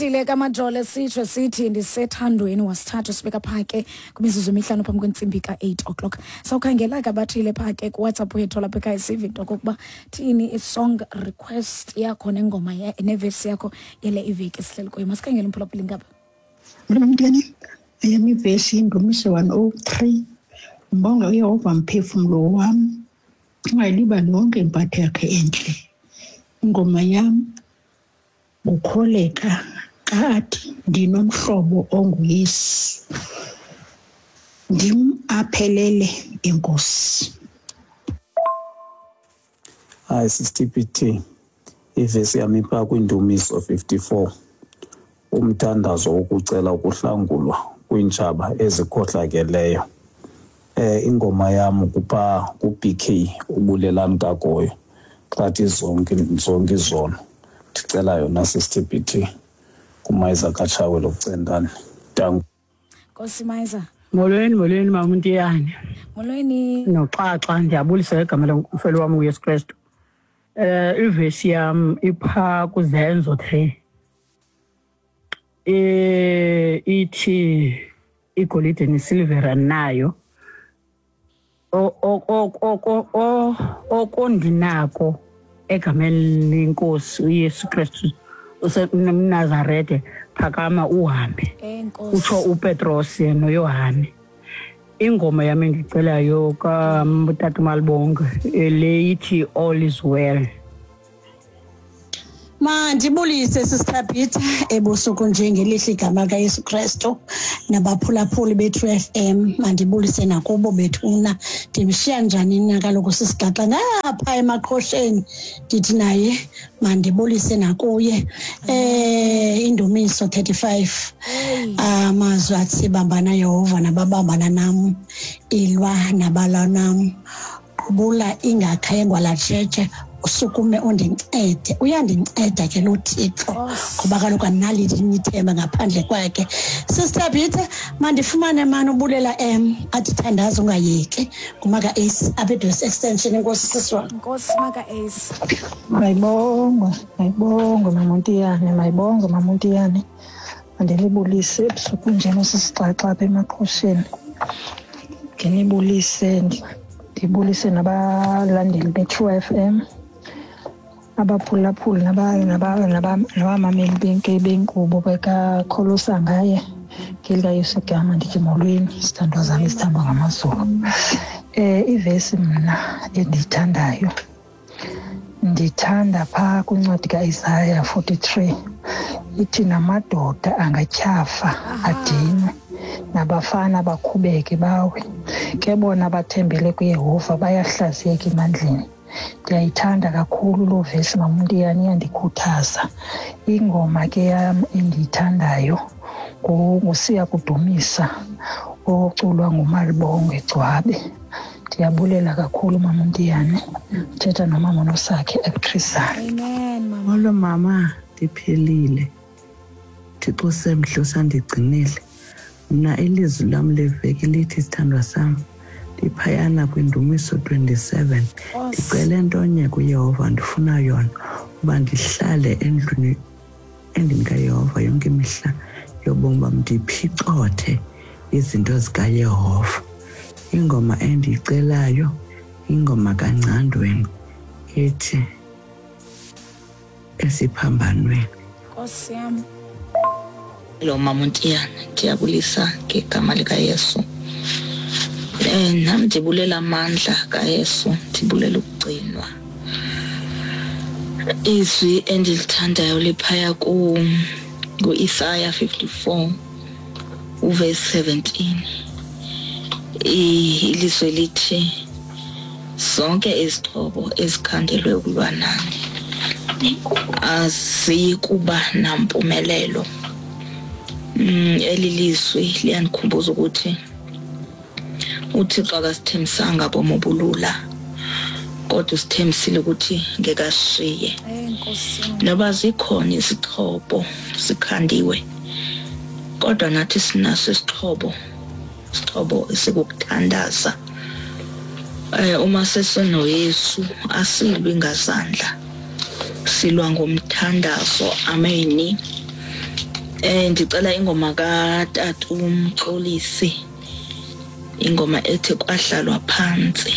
Ngwandile kaMajole sitsho sithi ndisethandweni wasithathu sibeka phaa ke kwimizuzu emihlanu phambi kwentsimbi ka-8 o'clock. Sawukhangela ke abathile phaa ke kuWhatsApp wethu lapha ekhaya sive into okokuba thini i-song request yakho nengoma nevesi yakho yale iveki esihleli kuyo. Masikhangele umphulaphuli ngapha. Mntwana, eyam ivesi yindumiso 103. Mbonge uYehova mphefumlo wam, ungayilibali yonke impatho yakhe entle. Ingoma yam ngukholeka xa athi ndinomhlobo onguYesu, ndim aphelele inkosi. Hayi sisiTPT, ivesi yam ipha kwindumiso 54, umthandazo wokucela ukuhlangulwa kwiintshaba ezikhohlakeleyo. Ingoma yam kupha ku-BK uBulelani Kagoyo xa thi zonke zonke izono. Ndicela yona sisiTPT kuMayiza kaTshawe lokucentane. Danko. Nkosi Mayiza. Molweni, molweni mama uNtiyane. Molweni. Noxaxa, ndiyabulisa igama lomfelo wam uYesu Kristu. Ivesi yam ipha kuZenzo 3. Ithi igolide nesilivera nayo okondinako egameni lenkosi uYesu Kristu useNazarete, phakama uhambe. Enkosi. Utsho uPetros noYohane. Ingoma yam endicelayo kaTata Malibonge le ithi All is Well. Mandibulise sisithabhitha ebusuku nje ngelihle igama kaYesu Kristu nabaphulaphuli bethu FM. Mandibulise nakubo bethuna. Ndimshiya njani na kaloku sisigaxa ngapha emaqhosheni, ndithi naye mandibulise nakuye. Indumiso 35. Amazwi athi bambana Yehova nababambana nam, ilwa nabalwa nam, qubula ingakhengwa latshetshe, usukume undincede. Uyandinceda ke lo Thixo, ngoba kaloku andinalo ithemba ngaphandle kwakhe. Sister Peter, mandifumane mani ubulela M athi thandaza ungayeki ngumaka Ace apha eDress Extension. Enkosi sisi wam. Nkosi maka Ace. Mayibongwe, mayibongwe mama uNtiyane, mayibongwe mama uNtiyane. Mandinibulise ebusuku nje nosisixaxa apha emaqhosheni. Ndinibulise, ndibulise nabalandeli be-True FM, abaphulaphuli nabamameli benkqubo bekakholosa ngaye ngelikaYesu igama. Ndithi molweni, sithandwa zam esithandwa ngamaZulu. Ivesi mna endiyithandayo, ndithanda phaa kwincwadi kaIsaya 43, ithi namadoda angatyhafa adinwe, nabafana bakhubeke bawe, ke bona bathembele kuYehova bayahlaziyeka emandleni. Ndiyayithanda kakhulu loo vesi mama uNtiyane, iyandikhuthaza. Ingoma ke yam endiyithandayo nguSiya Kudumisa oculwa nguMalibongwe Gcwabe. Ndiyabulela kakhulu mama uNtiyane. Thetha nomama Nosakhe eChrisani. Amen mama. Molo mama, ndiphilile. Thixo semhle usandigcinile. Mna ilizwi lam leveki lithi sithandwa sam, ndiphayana kwindumiso 27. Ndicele ntonye kuYehova, ndifuna yona uba ndihlale endlwini endlini kaYehova yonke imihla yobomi bam, ndiphicothe izinto zikaYehova. Ingoma endiyicelayo ingoma kaNgcandweni ethi esiphambanweni. Nkosi yam. Hello mama uNtiyane, ndiyabulisa ngegama likaYesu. Nam ndibulela amandla kaYesu, ndibulela ukugcinwa. Izwi endilithandayo liphaya ku-Isaya 54 uverse 17. Ilizwi lithi zonke izixhobo ezikhandelwe ukulwa nani aziyi kuba nampumelelo. Eli lizwi liyandikhumbuza ukuthi uThixo akasithembisanga bomi obulula, kodwa usithembisile ukuthi ngeke asishiye. Noba zikhona izixhobo zikhandiwe, kodwa nathi sinaso isixhobo, isixhobo esikukuthandaza. Uma sesinoYesu asilwi ngazandla, silwa ngomthandazo. Ameni. Ndicela ingoma katata uMxolisi, ingoma ethi Kwahlalwa Phantsi.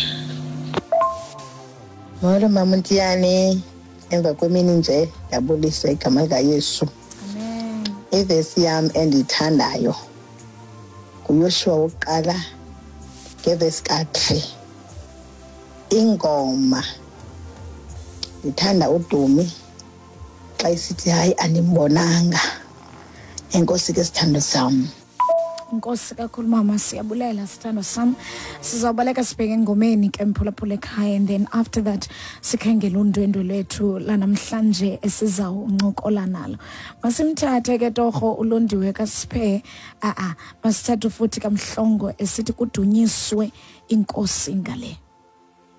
Molo mama Ntiyane, emva kwemini nje ndiyabulisa igama likaYesu. Ivesi yam endiyithandayo nguYoshuwa wokuqala ngevesi ka-3. Ingoma ndithanda uDumi xa isithi hayi andimbonanga. Enkosi ke sithando sam. Nkosi kakhulu mama, siyabulela sithando sam. Sizawubaleka sibheke engomeni ke mphulaphula ekhaya, and then after that sikhangele undwendwe lwethu lanamhlanje esizawuncokola nalo. Masimthathe ke torho uLondiwe kaSiphe, a-a masithathe futhi kaMhlongo esithi kudunyiswe inkosi ngale.